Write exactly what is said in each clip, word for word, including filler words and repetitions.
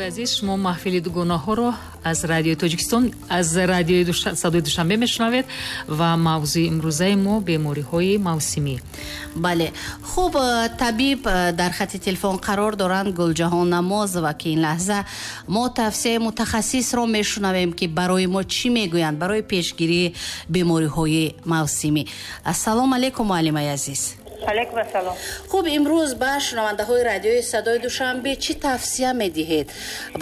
Шунавандаҳои азиз, шумо маҳфили дугонаҳоро аз Радиои Тоҷикистон, аз Радиои Садои Душанбе мешунавед ва мавзӯи имрӯзаи мо бемориҳои мавсимӣ. Бале, хуб, табиб дар хати телефон қарор доранд, Гулҷаҳон Намозова, ки ин лаҳза мо тавсияи мутахассисро мешунавем, ки барои мо чӣ мегӯянд барои пешгирии бемориҳои мавсимӣ. Ассалому алайкум, муаллимаи азиз. Алайкум ассалом. Хуб, имрӯз ба шунавандаҳои Радиои Садои Душанбе чӣ тавсия медиҳед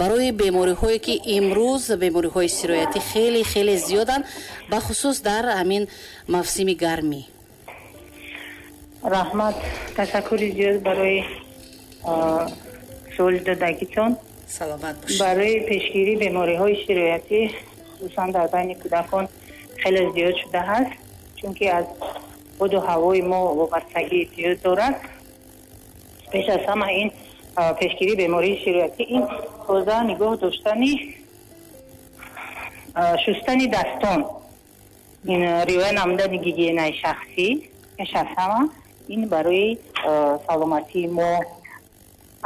барои бемориҳое, ки имрӯз бемориҳои сироятӣ хеле хеле зиёданд, бахусус дар ҳамин мавсими гармӣ? Раҳмат, ташаккури зиёд барои суоли додагитон. Саломат бошед. Барои пешгирии бемориҳои сироятӣ, хусусан дар байни кӯдакон, хеле зиёд шудааст, чунки аз боду ҳавои мо вобастагӣ зиёд дорад. Пеш аз ҳама ин пешгирии бемории сироятӣ ин тоза нигоҳ доштани, шустани дастон, ин риоя намудани гигиенаи шахсӣ пеш аз ҳама ин барои саломатии мо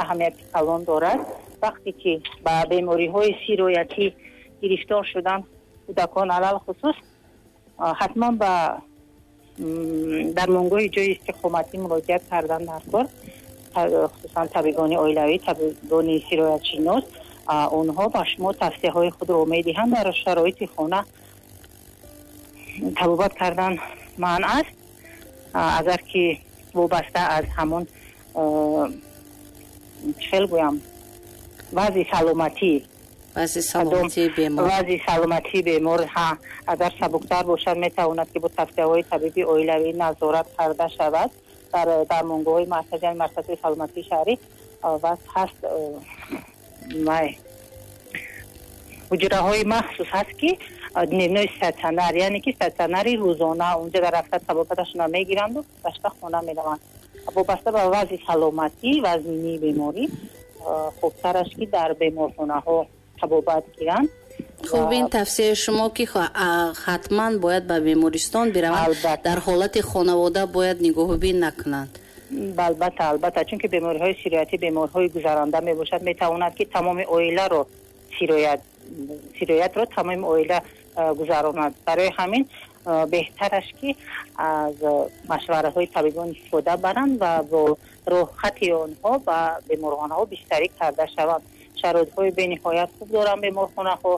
аҳамияти калон дорад. Вақте ки ба бемориҳои сироятӣ гирифтор шудан кӯдакон алалхусус, ҳатман ба дармонгоҳи ҷои истиқоматӣ муроҷиат кардан дар кор, хусусан табибони оилавӣ, табибони сироятшинос, онҳо ба шумо тавсияҳои худро медиҳанд. Дар шароити хона табобат кардан манъ аст, агар ки вобаста аз ҳамон, чӣ хел гӯям, вазъи саломатӣ, вазъи саломатии бемор, вазъи саломатии бемор, ҳа, агар сабуктар бошад, метавонад ки бо тавсияҳои табиби оилавӣ назорат карда шавад дар дармонгоҳҳои маркази, марказҳои саломатии шаҳрӣ. Ваз ҳаст, вай ҳуҷраҳои махсус ҳаст, ки дневной стационар, яъне ки стационари рӯзона, унҷа дар рафта табобаташонро мегиранду гашта хона мераванд. Вобаста ба вазъи саломатӣ, вазнинии беморӣ, хубтараш ки дар беморхонаҳо табобат гиранд. Хуб, ин тавсияи шумо, ки ҳатман бояд ба бемористон бираванд, дар ҳолати хонавода бояд нигоҳубин накунанд. Албатта, албатта, чунки бемориҳои сироятӣ бемориҳои гузаранда мебошад, метавонад ки тамоми оиларо сироят сироятро тамоми оила гузаронад. Барои ҳамин беҳтараш ки аз машвараҳои табибон истифода баранд ва бо роҳхати онҳо ба беморхонаҳо бистарӣ карда шаванд. Шароитҳои бениҳоят хуб доранд беморхонаҳо,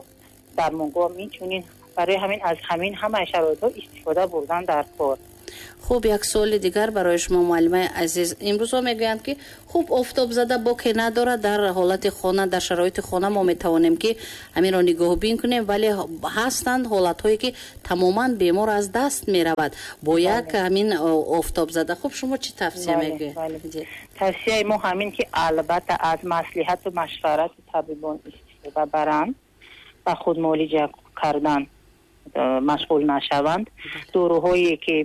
дармонгоҳ инчунин. Барои ҳамин аз ҳамин ҳамаи шароитҳо истифода бурдан дар кор. Хуб, як суоли дигар барои шумо, муаллимаи азиз. Имрӯзҳо мегӯянд, ки хуб, офтобзада боке надорад, дар ҳолати хона, дар шароити хона мо метавонем, ки ҳаминро нигоҳубин кунем, вале ҳастанд ҳолатҳое, ки тамоман бемор аз даст меравад бо як ҳамин офтобзада. Хуб, шумо чӣ тавсия мегӯед? Тавсияи мо ҳамин ки албатта аз маслиҳату машварати табибон истифода баранд ва худмуолиҷа кардан машғул нашаванд. Доруҳое ки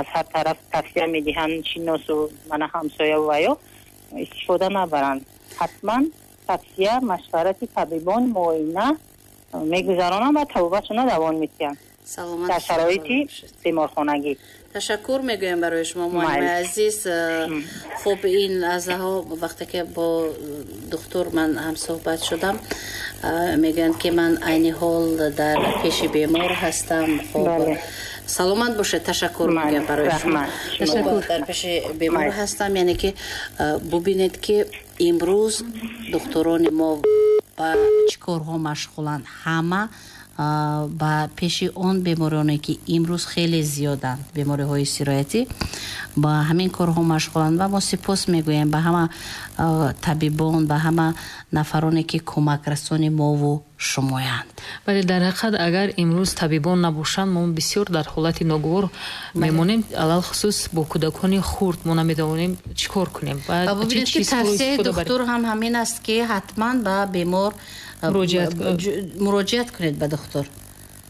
аз ҳар тараф тавсия медиҳанд шиносу мана ҳамсоя ва ё истифода набаранд. Ҳатман тавсия, машварати табибон, муоина мегузаронанд ва табобатшонро давом медиҳанд дар шароити беморхонагӣ. Ташаккур мегӯям барои шумо, муаллимаи азиз. Хуб, ин лаҳзаҳо вақте ки бо духтур ман ҳамсӯҳбат шудам, мегӯянд, ки ман айни ҳол дар пеши бемор ҳастам. Хуб, саломат бошед, ташаккур мегӯям барои шумо. Ташаккур. Дар пеши бемор ҳастам, яъне ки бубинед, ки имрӯз духтурони мо ба чӣ корҳо машғуланд. Ҳама ба пеши он бемороне, ки имрӯз хеле зиёданд, бемориҳои сироятӣ, ба ҳамин корҳо машғуланд ва мо сипос мегӯем ба ҳама табибон, ба ҳама нафароне, ки кӯмакрасони мову шумоянд. Бале, дар ҳақиқат, агар имрӯз табибон набошанд, мо бисёр дар ҳолати ногувор мемонем, алалхусус бо кӯдакони хурд мо наметавонем чӣ кор кунем. Ва бубинед, ки тавсияи духтур ҳам ҳамин аст, ки ҳатман ба бемор муроҷиат кунед, ба духтур.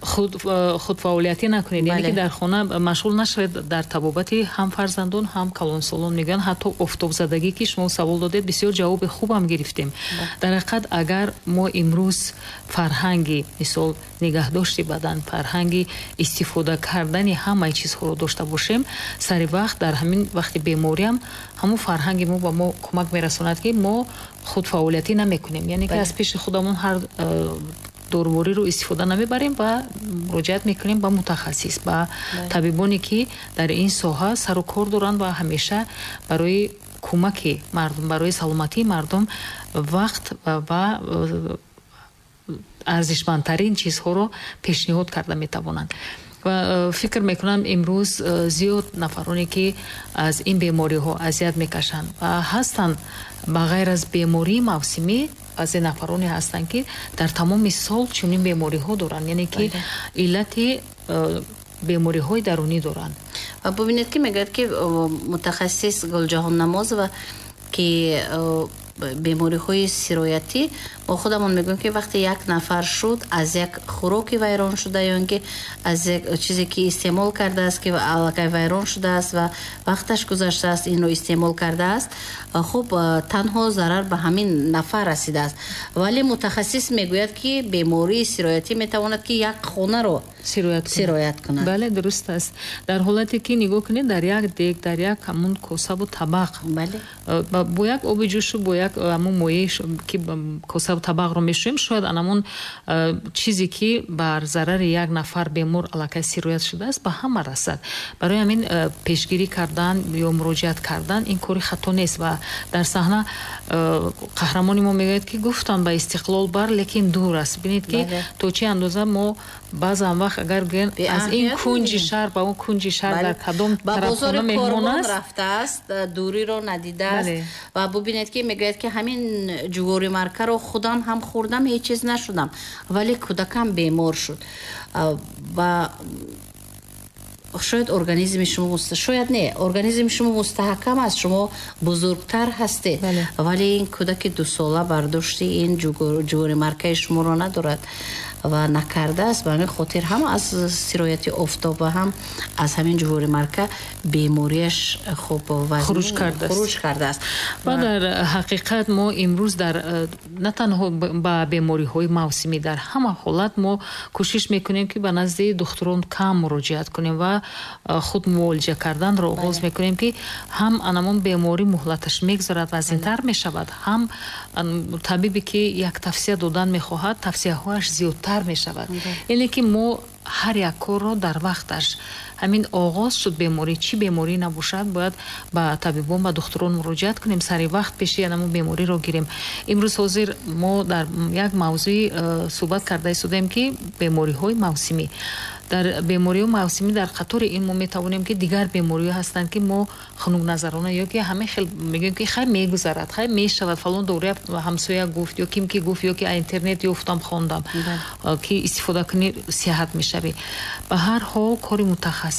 Худфаъолиятӣ накунед, яъне ки дар хона машғул нашавед дар табобати ҳам фарзандон, ҳам калонсолон. Мегӯянд, ҳатто офтобзадагӣ, ки шумо савол додед, бисёр ҷавоби хубам гирифтем. Дар ҳақиқат, агар мо имрӯз фарҳанги, мисол, нигаҳдошти бадан, фарҳанги истифода кардани ҳамаи чизҳоро дошта бошем, сари вақт дар ҳамин вақти бемориам ҳамун фарҳанги мо ба мо кӯмак мерасонад, ки мо худфаъолиятӣ намекунем, яъне ки аз пеши худамон ҳар э, дорувориро истифода намебарем ва муроҷиат мекунем ба мутахассис, ба табибоне, ки дар ин соҳа сару кор доранд ва ҳамеша барои кӯмаки мардум, барои саломатии мардум вақт ва э, арзишмандтарин чизҳоро пешниҳод карда метавонанд. Ва э, фикр мекунам, имрӯз э, зиёд нафароне, ки аз ин бемориҳо азият мекашанд ва ҳастанд, ба ғайр аз бемории мавсимӣ, баъзе нафароне ҳастанд, ки дар тамоми сол чунин бемориҳо доранд, яъне ки иллати э, бемориҳои дарунӣ доранд. Ва бубинед, ки мегӯяд, ки мутахассис Гулҷаҳон Намозова, ки бемориҳои сироятӣ, мо худамон мегӯем, ки вақте як нафар шуд, аз як хӯроки вайрон шуда ё ин ки аз як чизе, ки истеъмол кардааст, ки аллакай вайрон шудааст ва вақташ гузаштааст, инро истеъмол кардааст, хуб, танҳо зарар ба ҳамин нафар расидааст. Вале мутахассис мегӯяд, ки бемории сироятӣ метавонад, ки як хонаро сироят кунад. Бале, дуруст аст. Дар ҳолате ки нигоҳ кунед, дар як дег, дар як ҳамун косаву табақ бо як оби ҷӯшу бо як ҳамун моеъ, ки косаву табақро мешӯем, шояд анамун чизе, ки бар зарари як нафар бемор аллакай сироят шудааст, ба ҳама расад. Барои ҳамин пешгирӣ кардан ё муроҷиат кардан ин кори хато нест. Ва дар саҳна қаҳрамони мо мегӯяд, ки гуфтам, ба Истиқлол бар, лекин дур аст. Бинед, ки то чӣ андоза мо баъзан вақт, агар гӯем, аз ин кунҷи шаҳр ба он кунҷи шаҳр дар кадом тарафхона меҳмон аст. Рафтааст, дуриро надидааст. Ва бубинед, ки мегӯяд, ки ҳамин ҷуворимаккаро худам ҳам хӯрдам, ҳеҷ чиз нашудам, вале кӯдакам бемор шуд. Ва шояд организми шумо, шояд не, организми шумо мустаҳкам аст, шумо бузургтар ҳастед, вале ин кӯдаки дусола бардошти ин ҷуворимаккаи шуморо надорад ва накардааст. Ба ҳамин хотир ҳам аз сирояти офтоб ва ҳам аз ҳамин ҷуворимакка бемориаш хуб хуруҷ кардааст. Ва дар ҳақиқат мо имрӯз дар на танҳо ба бемориҳои мавсимӣ, дар ҳама ҳолат мо кӯшиш мекунем, ки ба назди духтурон кам муроҷиат кунем ва худ муолиҷа карданро оғоз мекунем, ки ҳам анамон беморӣ муҳлаташ мегузарад, вазнинтар мешавад, ҳам табибе, ки як тавсия додан мехоҳад, тавсияҳояш зиёдтар мешавад. Яъне ки мо ҳар як корро дар вақташ, ҳамин оғоз шуд беморӣ, чӣ беморӣ набошад, бояд ба табибон, ба духтурон муроҷиат кунем, сари вақт пеши анамон бемориро гирем. Имрӯз ҳозир мо дар як мавзӯи э, суҳбат карда истодаем, ки бемориҳои мавсимӣ. Дар бемориҳои мавсимӣ, дар қатори ин мо метавонем, ки дигар бемориҳо ҳастанд, ки мо хунукназарона ё ки ҳамин хел мегӯем, ки хай, мегузарад, хай, мешавад, фалон доруя ҳамсоя гуфт ё ким ки гуфт, ё ки интернет ёфтам, хондам, ки истифода кунӣ, сиҳат мешавӣ. Ба ҳар ҳол, кори мутахассис.